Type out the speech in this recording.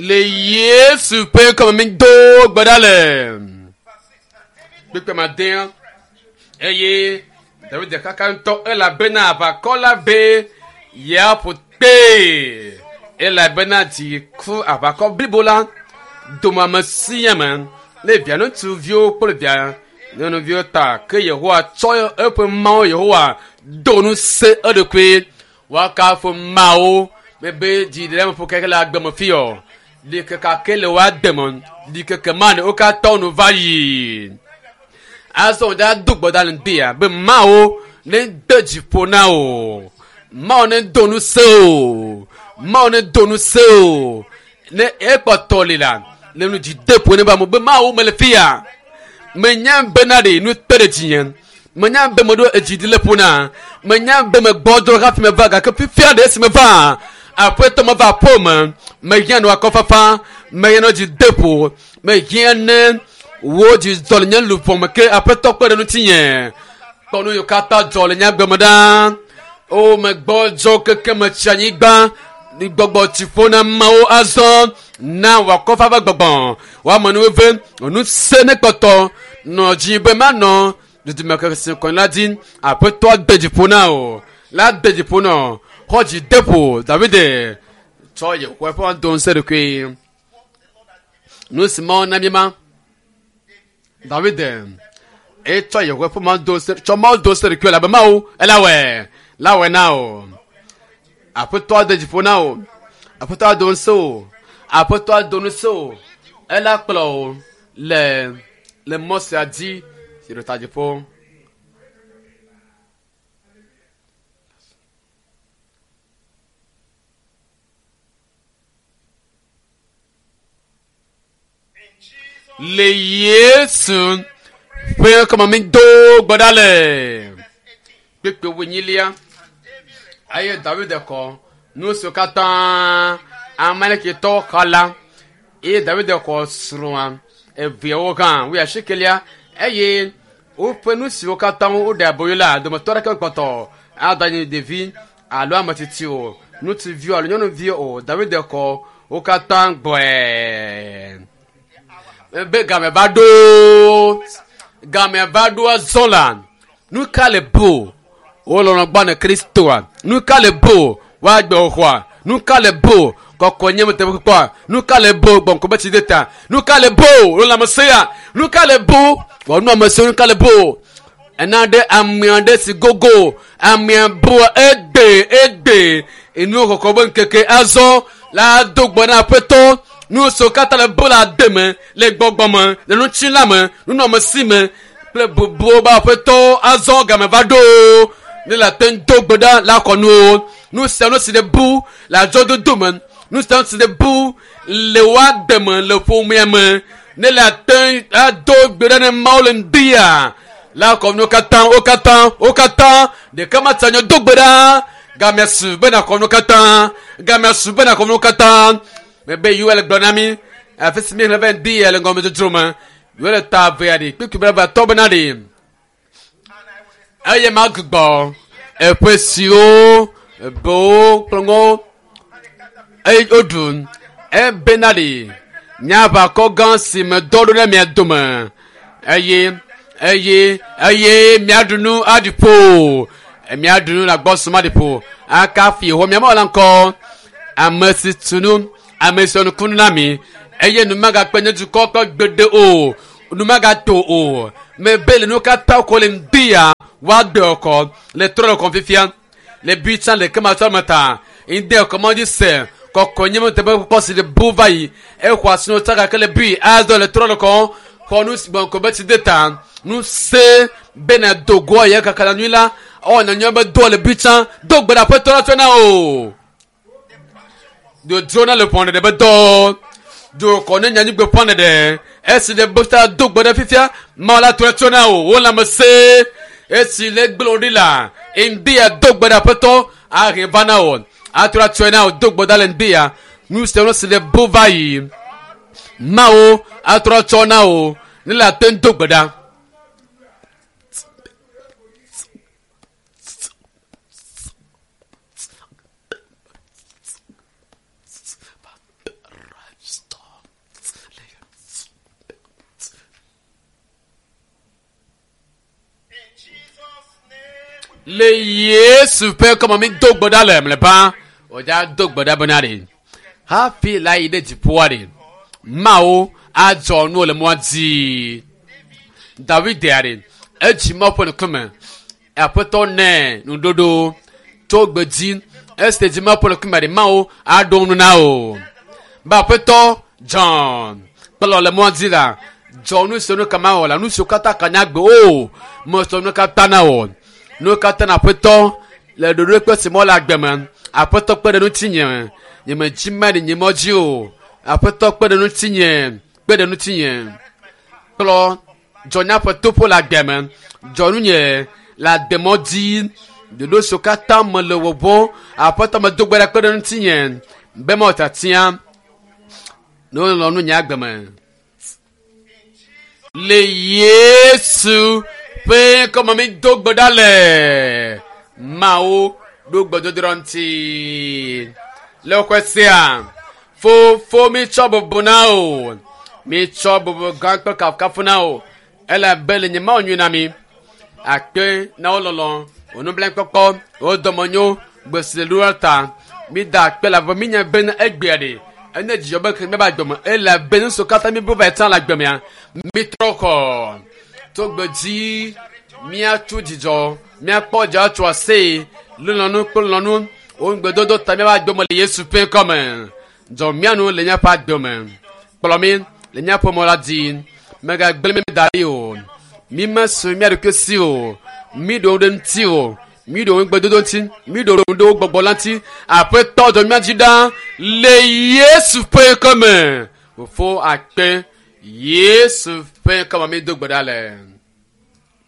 Le Yesu ƒe ŋkɔme mi do gbe ɖa le. Kpekpe ma dea eye David kaka ŋutɔ elabena aʋakɔ la be yeaƒo kpee elabena dzi ku aʋakɔ blibo la dome ame sia ame ne via ŋutsuviwo kple via nyɔnuviwo ta ke Yehowa tsɔ eƒe Mawu Yehowa do ŋusẽ eɖokui woakafu Mawu mebe dzi ɖe eme ƒo keke le agbe me fi o ɖikeke ke le woa deme ɖikeke ma ne wo katã nu va yi azɔ wòde ado gbe ɖa le ŋdea be Mawu ne de dzi ƒo na wò Mawu ne do ŋusẽ o Mawu ne do ŋusẽ o ne ekpɔtɔ li la le nu dzi de ƒo ne ba mo be Mawu mele fia menya bena ɖe nu te ɖe dzinye menya be meɖo edzi ɖi le ƒo na menya be megbɔdzɔ hafi meva gake fifia ɖe esi meva aƒetɔ meva aƒe me mehiã nɔ akɔfafa mehiã nɔ dzi de ƒo mehiã ne wo dzi zɔ le nye luʋɔ me ke aƒetɔ kpe ɖe ŋutinye kpɔ nu yiwo katã dzɔ le nye agbe me ɖa o megbɔdzɔ keke metsi anyigba gbɔgbɔ tsi ƒo na mawo azɔ na wòakɔfa ƒe gbɔgbɔ woame nu veve ŋusẽ ne kpɔtɔ nɔ dzi be manɔ dudime kese kɔn la dzi aƒetɔ de dzi ƒo na o la de dzi ƒo na o xɔ dzi de ƒo Davide tsɔ Yehowa ƒe do ŋusẽ ɖokui nu si Mawu na mí ma Davide etsɔ Yehowa ƒe Mawu do ŋusẽ tsɔ Mawu do ŋusẽ ɖokui elabe Mawu elawɔe lawɔe na o aƒetɔ de dzi ƒo na o aƒetɔ do ŋusẽ o aƒetɔ do ŋusẽ o ela kplɔ o le le mɔ sia dzi si ɖo ta dziƒo. Le Yesu ƒe ŋkɔme mi do gbe ɖa le kpekpe wonyilia eye David kɔ nu siwo katã Amalekitɔwo xɔ la eye David xɔ srɔ̃a eveawo hã wuiasiekelia eye woƒe nu siwo katã woɖe aboyo la dometɔ aɖeke mekpɔtɔ ada nye ɖevi alo ame tsitsi o ŋutsuvi alo nyɔnuvi o David xɔ wo katã gbɔe be game va ɖo game va ɖo azɔ la nu ka le bo wolɔlɔ gbɔ ne Kristoa nu ka le bo woagbe xɔa nu ka le bo kɔkɔ nye teƒe kpɔa nu ka le bo gbɔnkɔ be tsi de ta nu ka le bo wole ame se ya nu ka le bo wɔnu ame se nu ka le bo ena ɖe ame aɖe si gogo amea bo egbe egbe enu kɔkɔ be ŋkeke azɔ la do gbɔ na aƒetɔ nu siwo katã le bo la de me le gbɔgbɔ me le ŋutilã me nunɔamesi me kple bubuwo be aƒetɔ azɔ game va ɖo ne le ate ŋu do gbe ɖa la xɔ nuwo nu sia nu si ɖe bu le adzɔdodo me nu sia nu si ɖe bu le woa deme le ƒomea me ne le ate ŋu ado gbe ɖa ne Mawu le ŋdia la xɔ nuwo katã wo katã wo katã ɖeka ma tsa nye do gbe ɖa gamea su be nàxɔ nuwo katã gamea su be nàxɔ nuwo katã mebe Yoel gblɔ na mi afi si mi xlẽ be ŋdi le ŋgɔmedzodzro me Yoel ta evea ɖi kpekpe be eve bena ɖi eye magbugbɔ eƒe siwo bewo kple ŋɔ eye woɖu ebena ɖi nye aʋakɔ gã si me dɔ ɖo ɖe mia dome eye eye eye miaɖu nu aɖi ƒo miaɖu nu le agbɔsɔm aɖi ƒo akafi Yehowa mia Mawu la ŋkɔ ame si tu nu ame si wɔ nukunu na mi eye nu magakpe nye dukɔ ƒe gbeɖe o nu magato o mebe le nu katã ko le ŋdi ya woagbe kɔ le trɔ le kɔm fifia le bi tsã le kema tsɔ me ta ŋdi kɔ mɔ dzi se kɔkɔ nye me teƒe kpɔ si le bu va yi exɔ asi no tsaka ke le bi azɔ le trɔ le kɔm xɔ nu si gbɔn ko be tsi de ta nu se bena dogoa ye kaka la nyui la ɔ nyanya be doa le bi tsã do gbe ɖe aƒetɔ la tsɔ na o dodzo na le ƒɔn ɖeɖe be dɔ do kɔ ne nyanyigbe ƒɔn ɖeɖe esi le bota do gbe ɖe fifia mawu la trɔ tso na o wo lãme se esi le gblɔ ɖi la ŋdi ya do gbe ɖe aƒetɔ ahe va na o atrɔ atsɔe na o do gbe ɖa le ŋdi ya nu sia nu si le bo va yi mawu atrɔ tsɔ na o ne le ate ŋu do gbe ɖa. Le Yesu ƒe ŋkɔme mi do gbe ɖa le mlɔeba. Wòdza do gbe ɖa bena ɖe hafi la yi ɖe dziƒoa ɖe Mawu adzɔ nuwo le mɔa dzi. David ɖe edzi Mawu ƒe ŋkume. Aƒetɔ nɛ nuɖoɖo tso gbe dzi esi dzi Mawu ƒe ŋkume ɖe Mawu aɖo nu na o. Be aƒetɔ dzɔ kplɔ le mɔa dzi la dzɔ nu siwo nu ka mawɔ la nu siwo katã ka nya gbe o mesɔ nu katã na o nu katã na aƒetɔ le ɖoɖo kple si mɔ le agbe me aƒetɔ kpe ɖe ŋutinye nye me dzi ma ɖe nye mɔ dzi o aƒetɔ kpe ɖe ŋutinye kpe ɖe ŋutinye kplɔ dzɔ nye aƒe toƒo le agbe me dzɔ nunye le agbemɔ dzi ɖoɖo siwo katã me le wɔwɔ aƒetɔ me do gbe ɖa kpe ɖe ŋutinye be mawɔ tiatia ne wolɔ nu nye agbe me le Yesu ƒe ŋkɔme mi do gbe ɖa le Mawu ɖo gbedodoɖa ŋuti le woƒe sea fofo mi tsɔ bubu na o mi tsɔ bubu gã kple kafukafu na o elabe le nye Mawu nyui na mi akpe na wo lɔlɔ wo nublanuikpɔkpɔ wo dɔmenyo gbesiɖoa ta mi da akpe le abe mi nya bena egbea ɖe ene dzidzɔ be ke míabe agbe me elabe nu siwo katã mi bu va yi tsã le agbe mea mi trɔ xɔ tso gbe dzi míatso dzidzɔ míakpɔ dzidzɔ atso aseye lɔlɔ̃nu kple lɔlɔ̃nu wo ŋugbedodo ta míabe agbe me le Yesu ƒe ŋkɔme dzɔ mía nu le míaƒe agbe me kplɔ mí le míaƒe mɔ la dzi megagblẽ mí da ɖi o mí mesu mía ɖokui si o mí ɖo ɖe ŋuti o mí ɖo ŋugbedodo ŋuti mí ɖo ɖe wo gbɔgbɔ la ŋuti aƒetɔ dzɔ mía dzi ɖa le Yesu ƒe ŋkɔme fofo akpe Yesu ƒe ŋkɔme mí do gbe ɖa le.